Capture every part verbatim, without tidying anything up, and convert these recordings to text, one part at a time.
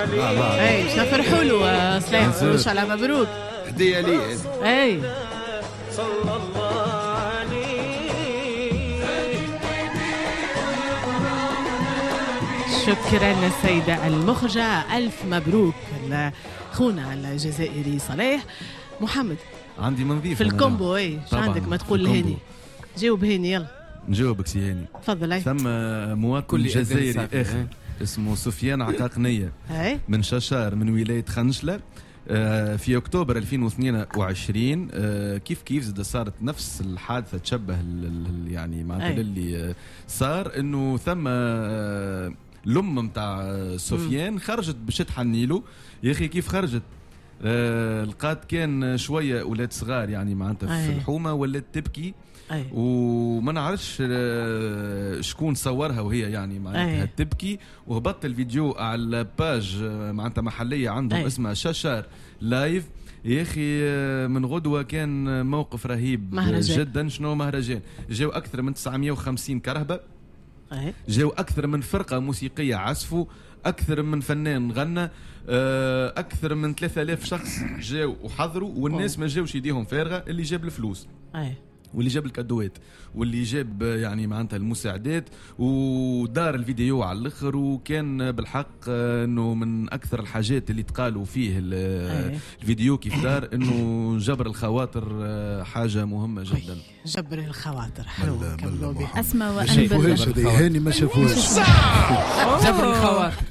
اي باش نفرحوا له صلاح، ان شاء الله مبروك. هديه لي. اي صلى الله عليه. شكرا السيدة المخرجة، ألف مبروك خونا الجزائري صلاح. محمد عندي منظيف في ال combo. اي شو عندك ما تقول لهاني؟ جاوب هاني يلا. نجاوبك سي هاني. تفضل. ثم مواطن جزائري اخر اسمه سفيان عقاقنية من ششار من ولاية خنشلة، في اكتوبر ألفين واثنين وعشرين كيف كيف زاد صارت نفس الحادثة، تشبه يعني معناتها اللي صار انه ثم الام نتاع سفيان خرجت باش تحني له. يا اخي كيف خرجت لقات كان شوية اولاد صغار يعني معناتها في الحومه، ولات تبكي. أي. وما نعرفش شكون صورها وهي يعني معناتها تبكي، وهبط الفيديو على page معناتها محليه عندهم. أي. اسمها شاشار لايف. يا اخي من غدوه كان موقف رهيب مهرجان. جدا. شنو مهرجان؟ جاو اكثر من تسعمية وخمسين كرهبه، جاو اكثر من فرقه موسيقية عزفوا، اكثر من فنان غنى، اكثر من ثلاثة آلاف شخص جاو وحضروا، والناس ما جاوش يديهم فارغة، اللي جاب الفلوس. أي. واللي جاب الكادوات، واللي جاب يعني معناتها المساعدات، ودار الفيديو على الاخر. وكان بالحق انه من اكثر الحاجات اللي تقالوا فيه الفيديو كيف دار انه جبر الخواطر حاجة مهمة جدا. جبر الخواطر حلو. كملوا به. اسماء وانبل هاني ما شافوهاش. جبر الخواطر.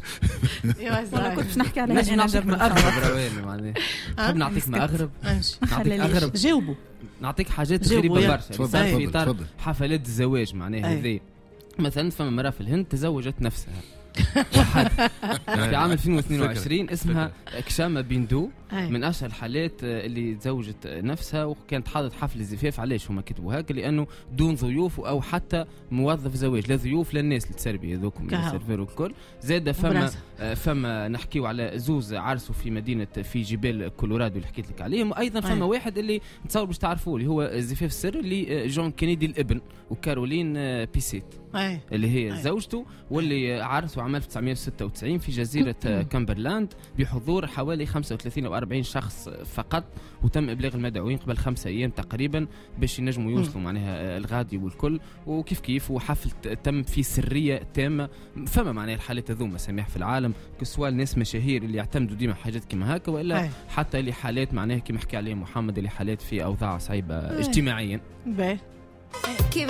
والله كنت باش نحكي على هاني. جبر اغرب معناها. نحب نعطيك ما اغرب. نعطيك اغرب. جاوبوا. نعطيك حاجات غريبة برشا صار في اطار حفلات الزواج معناها هذه. مثلا فما مرأة في الهند تزوجت نفسها في عام ألفين واثنين وعشرين، اسمها كشامة بيندو، من أشهر الحالات اللي تزوجت نفسها وكانت حاضرة حفل الزفاف. علاش هما كتبوا هكا؟ لأنه دون ضيوف أو حتى موظف زواج، لا ضيوف لا الناس اللي تسربي هذوك ال serveur والكل. زاد فما فما نحكيو على زوز عرسوا في مدينة في جبال كولورادو اللي حكيت لك عليهم. وأيضا فما واحد اللي نتصور باش تعرفوه اللي هو الزفاف السري اللي جون كينيدي الابن وكارولين بيسيت اللي هي أي. زوجته، واللي عرسوا عام ألف وتسعمية وستة وتسعين في جزيرة كامبرلاند بحضور حوالي خمسة وثلاثين أو أربعين شخص فقط، وتم إبلاغ المدعوين قبل خمسة أيام تقريبا باش ينجموا يوصلوا معناها الغادي والكل. وكيف كيف وحفل تم في سرية تامة. فما معناها الحالات هذوما سماح في العالم، كسوا الناس مشاهير اللي يعتمدوا ديما حاجات كيما هكا، وإلا أي. حتى اللي حالات معناها كيما حكي عليه محمد اللي حالات في أوضاع صعيبة اجتماعيا. باهي. كيف